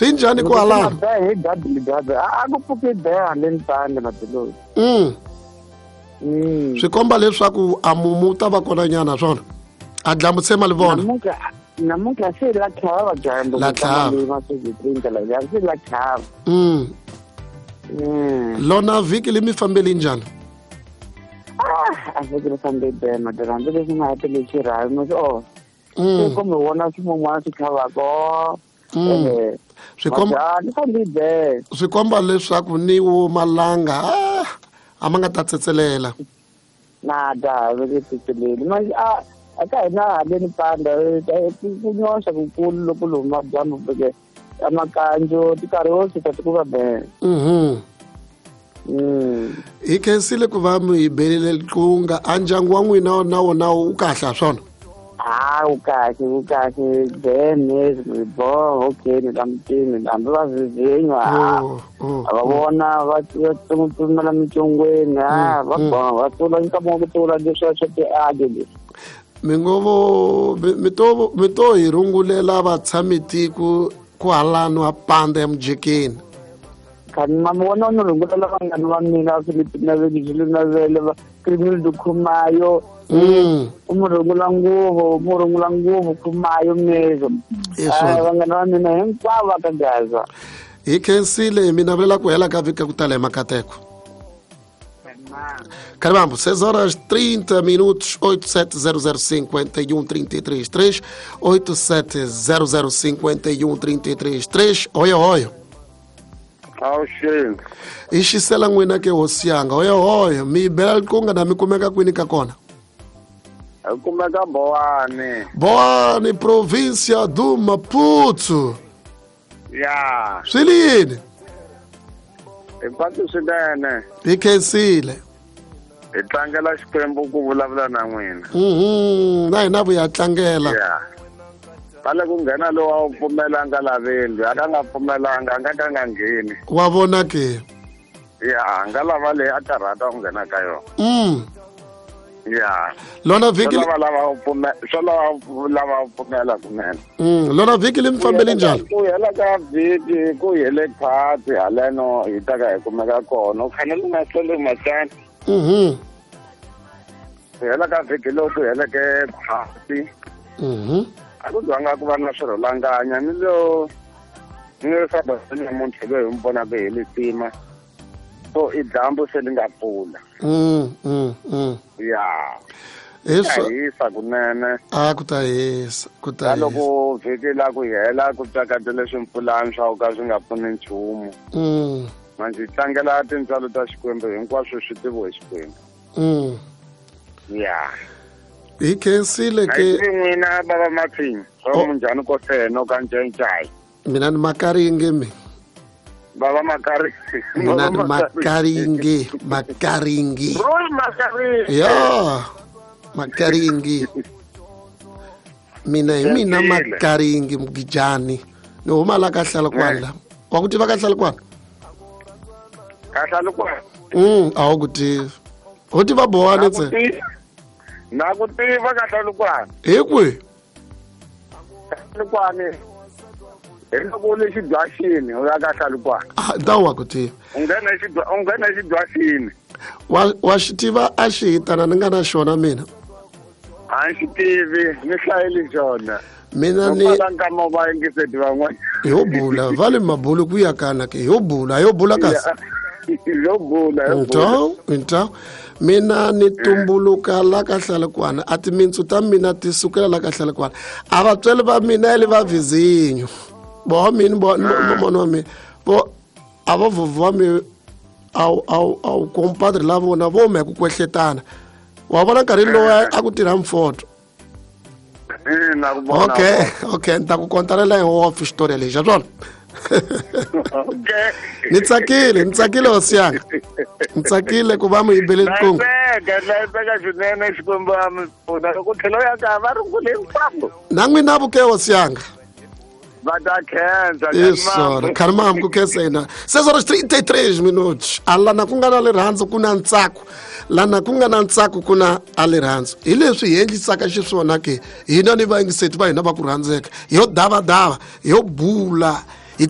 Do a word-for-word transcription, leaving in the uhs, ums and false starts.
Swi njhani kwalano? Hi gadi gadi. A ku pfuki be haleni pande matiloyi. Mm. Mm. Swi komba leswaku a mumu ta va kona nyana swona. A dlambu tshema li vona. Namuntlha namuntlha se la tlhava dyambu. La tlhava. La se la tlhava. Mm. Mm. Lona vhiki li mi fambeli njhani? Ah, a vhiki ri fambe be madala leswi nga hatele xirhami oh. Mm. Kumbe wona swin'wana swi tlhavaka. Mm. Swi komba swi komba leswaku ni wo malanga ah, a ma nga ta tsetselela. Na da ve ke tsetseleli. Manje a a ka hina haleni panda ku nyoxa kukulu loko luma dyambu ke amakanjo tikarhi wo suka ti ku va be. Mhm. Mm. Hi khensile ku va mi hi belele liqunga a ndyangu wa n'wina na wona wu kahle swona. Ah, u kahle u kahle bene bo okay ni lamtini hambi va vivinywa a va vona va tsumela mitsongweni a va va tsula nkama ku tsula leswi swa tiadi leswi. Mi ngo vo mi to mi to hi rungulela vatshamitiko ku halano a panda ya mujekeni. Khani mama wona no rungulela vanghana va mina Philippine na Vele na Vele va Criminal Khumayo. Mm. Umurungula nguvo umurungula nguvo Khumayo mezo. Vanghana va mina hinkwavo ka Gaza. Hi khensile mi navelela ku hela ka vhiki ku tala hi makateko. Caramba, seis horas trinta minutos, oito sete zero zero cinco um três três três, oito sete zero zero cinco um três três três. Oya oya. Awuxini. I xisela n'wina ke hosi yanga. Oya oya, mi bela liqunga na mi kumeka kwini ka kona? Hi kumeka Boane. Boane, província do Maputo. Ya. Swi li yini? Hi patu swinene. Hi khensile. Hi tlangela Xikwembu ku vulavula na n'wina. Mhm, na hina vuya tlangela. Ya. Pale ku nghena lowu a wu pfumelanga laveni, a ka nga pfumelanga, a nga ka nga ngheni. Wa vona ke? Ya, a nga lava leyi a karhata ku nghena ka yona. Mm. Ya. Lona vhiki swo lava lava pfumela, swo lava lava pfumela kunene. Mm, lona vhiki li mi fambeli njhani? Ku hela ka vhiki ku hele khwatsi haleno hi ta ka hi kumeka kona. U fanele u nga hlweli masana. Mhm. Ku hela ka vhiki lowu ku heleke khwatsi. Mhm. A ku zwanga ku va na swirholanganya ni lo ni lo swa namuntlha loyi hi mi vonaka hi lisima. So i dyambu se li nga pfula. Mm, mm, mm. Ya. Hisa hisa kunene. A ku ta hisa, ku ta hisa. Loko vhiki la ku hela ku tsakatele swimpfulani swa ka swi nga pfuni nchumu. Mm. Manje tlangela tintswalo ta Xikwembu hinkwaswo swi tiviwe hi Xikwembu. Mm. Ya. Hi khensile ke n'wina baba Mathini, swa munjhani ko feno ka ncencai. Mina ni Makaringe mi. Baba Makaringe. Mina ni Makaringe, Makaringe. Roy Makaringe. Ya. Makaringe. Mina hi mina Makaringe Mugijani. Ni huma la ka Hlalukwana. Wa ku tiva ka Hlalukwana? Ka Hlalukwana. Mm, a wu ku tivi. Ho tiva Boane ntsena. Na ku tiva ka Hlalukwana. Hi kwihi? Hlalukwana. Hi loko u le xidwaxini u ya ka Hlalukwana. Ah, ta wa ku tiva. U nghena xidwa u nghena xidwaxini. Wa wa xi tiva a xi hitana ni nga na xona mina. A xi tivi, ni hlayeli xona. Mina ni nkama va yingiseti van'wana. Yo bula, va le mabulu ku ya kana ke yo bula, yo bula kasi. Yo bula, yo bula. Então, então mina ni tumbuluka la ka Hlalukwana, a timintsu ta mina ti sukela la ka Hlalukwana. A vatswari va mina le va vizinyo. Bo mina bo mona wa mina. Bo a va vuvwa mi aw aw aw compadre la vona vo me ku kwehletana. Wa vona nkarhi lowu a ku tirha mfoto. Okay, okay, ni ta ku kontarela hi off xitori lexi, swona. Okay. Ni tsakile, ni tsakile hosi yanga. Ni tsakile ku va mi yibele liqunga. Hlayiseka swinene Xikwembu a mi pfuna loko tlhelo ya ka va rungule hinkwavo. Na n'wina vuke hosi yanga. Va ta khensa. Isso, Carmam, ku khensa yena. seis horas trinta e três minutos. A lana ku nga na rirhandzu ku na ntsako. Lana ku nga na ntsako ku na a rirhandzu. Hi leswi hi endlisaka xiswona ke hina ni vayingiseti va hina va ku rhandzeka. Yo davadava, yo bula. Hi